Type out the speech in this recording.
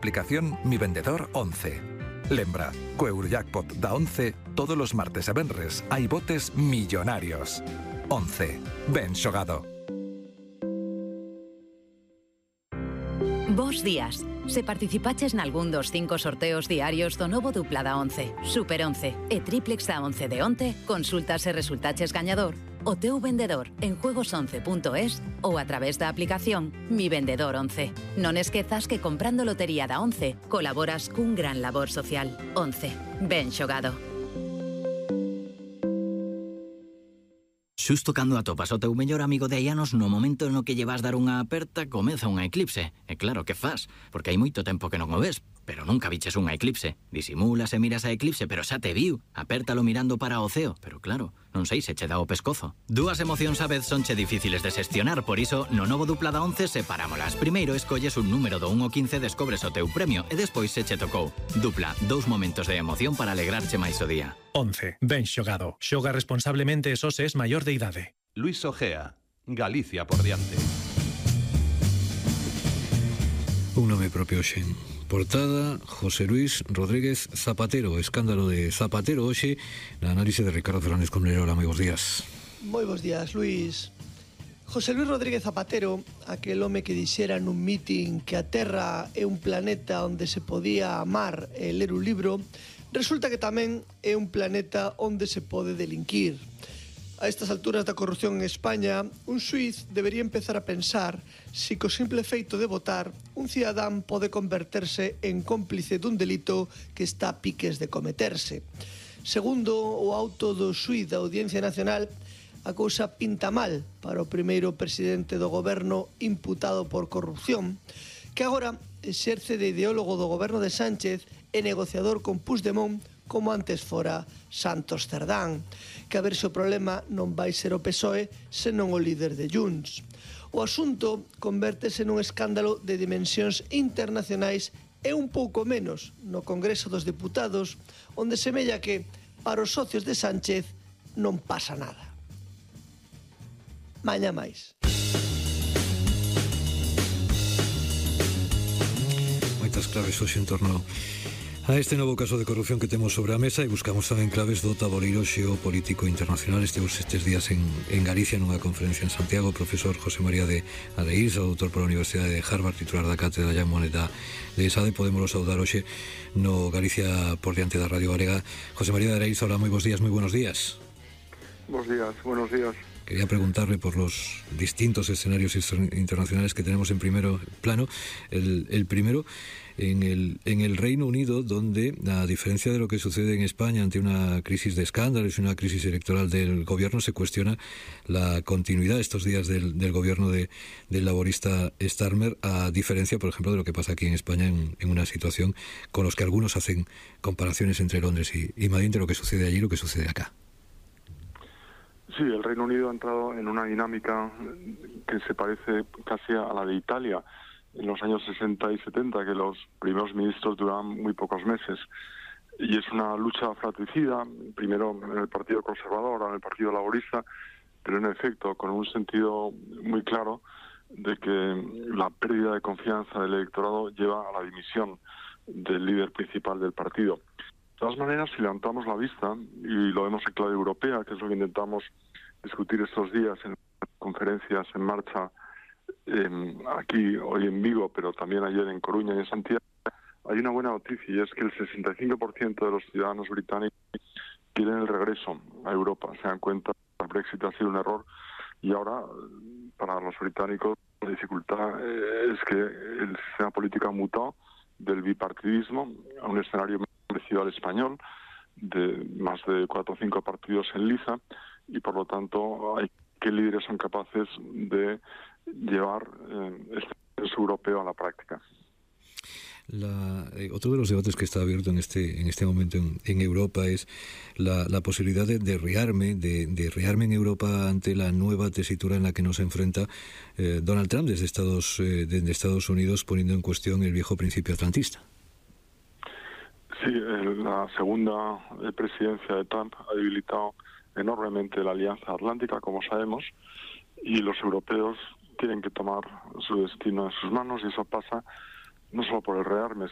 Aplicación Mi Vendedor 11. Lembra, co Eurojackpot da 11, todos os martes e venres hai botes millonarios. 11. Ben xogado. Bos días. Se participaches nalgún dos 5 sorteos diarios do novo dupla da 11, Super 11 e Triplex da 11 de onte, consultas e resultaches gañador o teu vendedor en juegos11.es ou a través da aplicación Mi Vendedor 11. Non esquezas que comprando lotería da 11 colaboras cun gran labor social. 11. Ben xogado. Xusto cando atopas o teu mellor amigo de hai anos, no momento no que lle vas dar unha aperta, comeza unha eclipse. E claro, que fas? Porque hai moito tempo que non o ves, pero nunca viches unha eclipse. Disimulas e miras a eclipse, pero xa te viu. Apértalo mirando para o ceo, pero claro, non sei se che dá o pescozo. Dúas emocións a vez sonche difíciles de xestionar, por iso, no novo dupla da 11 separámolas. Primeiro escolles un número do 1 ao 15, descobres o teu premio, e despois se che tocou. Dupla, 2 momentos de emoción para alegrarche máis o día. 11. Ben xogado. Xoga responsablemente e só se es maior de idade. Luis Ojea, Galicia por diante. Un nome propio xen. Portada, José Luis Rodríguez Zapatero. Escándalo de Zapatero hoxe na análise de Ricardo Fernández Comnero. Moi bons días. Moi bons días, Luis. José Luis Rodríguez Zapatero, aquel home que dixera nun mitin que a Terra é un planeta onde se podía amar e ler un libro, resulta que tamén é un planeta onde se pode delinquir. A estas alturas da corrupción en España, un xuiz debería empezar a pensar si co simple feito de votar, un cidadán pode converterse en cómplice dun delito que está a piques de cometerse. Segundo o auto do xuiz da Audiencia Nacional, a cousa pinta mal para o primeiro presidente do goberno imputado por corrupción, que agora exerce de ideólogo do goberno de Sánchez e negociador con Puigdemont, como antes fora Santos Cerdán, que a ver se o problema non vai ser o PSOE senón o líder de Junts. O asunto convértese nun escándalo de dimensións internacionais e un pouco menos no Congreso dos Deputados, onde semella que, para os socios de Sánchez, non pasa nada. Mañá máis. Moitas claves hoxe en torno a este novo caso de corrupción que temos sobre a mesa, e buscamos tamén claves do taboleiro xeopolítico internacional. Estemos estes días en Galicia nunha conferencia en Santiago. O profesor José María de Areíza, doutor pola Universidade de Harvard, titular da cátedra Jean Monnet de ESADE. Podémoslo saudar hoxe no Galicia por diante da Radio Galega. José María de Areíza, hola, moi bons días, moi buenos días. Buenos días. Quería preguntarle por los distintos escenarios internacionales que tenemos en primer plano. El primero, en el Reino Unido, donde, a diferencia de lo que sucede en España ante una crisis de escándalos y una crisis electoral del gobierno, se cuestiona la continuidad estos días del gobierno del laborista Starmer, a diferencia, por ejemplo, de lo que pasa aquí en España en una situación con los que algunos hacen comparaciones entre Londres y Madrid, entre lo que sucede allí y lo que sucede acá. Sí, el Reino Unido ha entrado en una dinámica que se parece casi a la de Italia en los años 60 y 70, que los primeros ministros duraban muy pocos meses. Y es una lucha fratricida, primero en el Partido Conservador, ahora en el Partido Laborista, pero en efecto con un sentido muy claro de que la pérdida de confianza del electorado lleva a la dimisión del líder principal del partido. De todas maneras, si levantamos la vista, y lo vemos en clave europea, que es lo que intentamos discutir estos días en conferencias en marcha aquí hoy en Vigo, pero también ayer en Coruña y en Santiago, hay una buena noticia, y es que el 65% de los ciudadanos británicos quieren el regreso a Europa. Se dan cuenta que el Brexit ha sido un error, y ahora para los británicos la dificultad es que el sistema político ha mutado del bipartidismo a un escenario parecido al español, de más de 4 o 5 partidos en liza, y por lo tanto hay que líderes son capaces de llevar este proceso europeo a la práctica. Otro de los debates que está abierto en este momento en Europa es la posibilidad de rearme en Europa ante la nueva tesitura en la que nos enfrenta Donald Trump desde Estados Unidos, poniendo en cuestión el viejo principio atlantista. Sí, la segunda presidencia de Trump ha debilitado enormemente la Alianza Atlántica, como sabemos, y los europeos tienen que tomar su destino en sus manos, y eso pasa no solo por el rearme,